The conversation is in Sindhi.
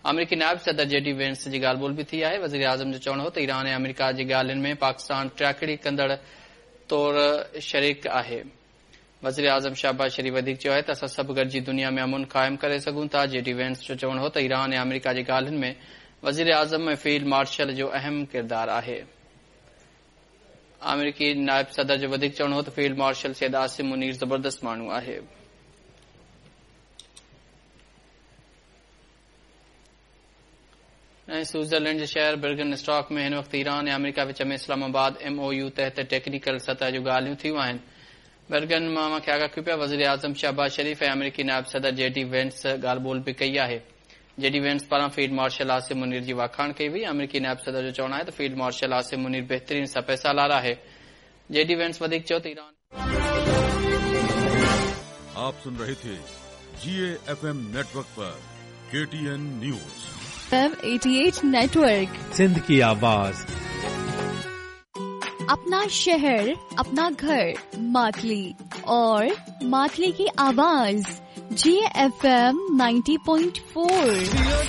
آمريڪي نائب صدر جي ڊي وينس جي ڳالهه ٻولهه به ٿي آهي. وزيراعظم جو چوڻ هو ته ايران ۽ آمريڪا جي ڳالهين ۾ پاڪستان ٽياڪڙي ڪندڙ طور شريڪ آهي. وزيراعظم شهباز شريف وڌيڪ چيو آهي ته اسان سڀ گڏجي دنيا ۾ امن قائم ڪري سگهون ٿا. جي ڊي وينس جو چوڻ هو ته ايران ۽ آمريڪا جي ڳالهين ۾ وزيراعظم ۽ فيلڊ مارشل جو اهم ڪردار آهي. آمريڪي نائب صدر جو وڌيڪ چوڻ هو ته فيلڊ مارشل سيد عاصم منير زبردست ماڻهو آهي. ۽ سوئٽزرلينڊ جي شهر برگن اسٽاڪ ۾ هن وقت ايران ۽ آمريڪا وچ ۾ اسلام آباد ايم او يو تحت ٽيڪنيڪل سطح جون ڳالهيون ٿيون آهن. برگن مان اوهان کي آگاهه ڪيون پيا وزيراعظم شهباز شريف ۽ آمريڪي نائب صدر جي ڊي وينس ڳالهه ٻولهه به ڪئي آهي. جي ڊي وينس پاران فيلڊ مارشل عاصم منير جي واکاڻ ڪئي وئي. آمريڪي نائب صدر جو چوڻ آهي ته فيلڊ مارشل عاصم منير بهترين سپهه سالار آهي. جي ڊي وينس وڌيڪ چيو ته ايران. آپ سن رهي ٿي جي اي ايف ايم نيٽورڪ پر K T N news. M 88 network Sindh की आवाज. अपना शहर, अपना घर, मातली और मातली की आवाज, जी एफ एम 90.4.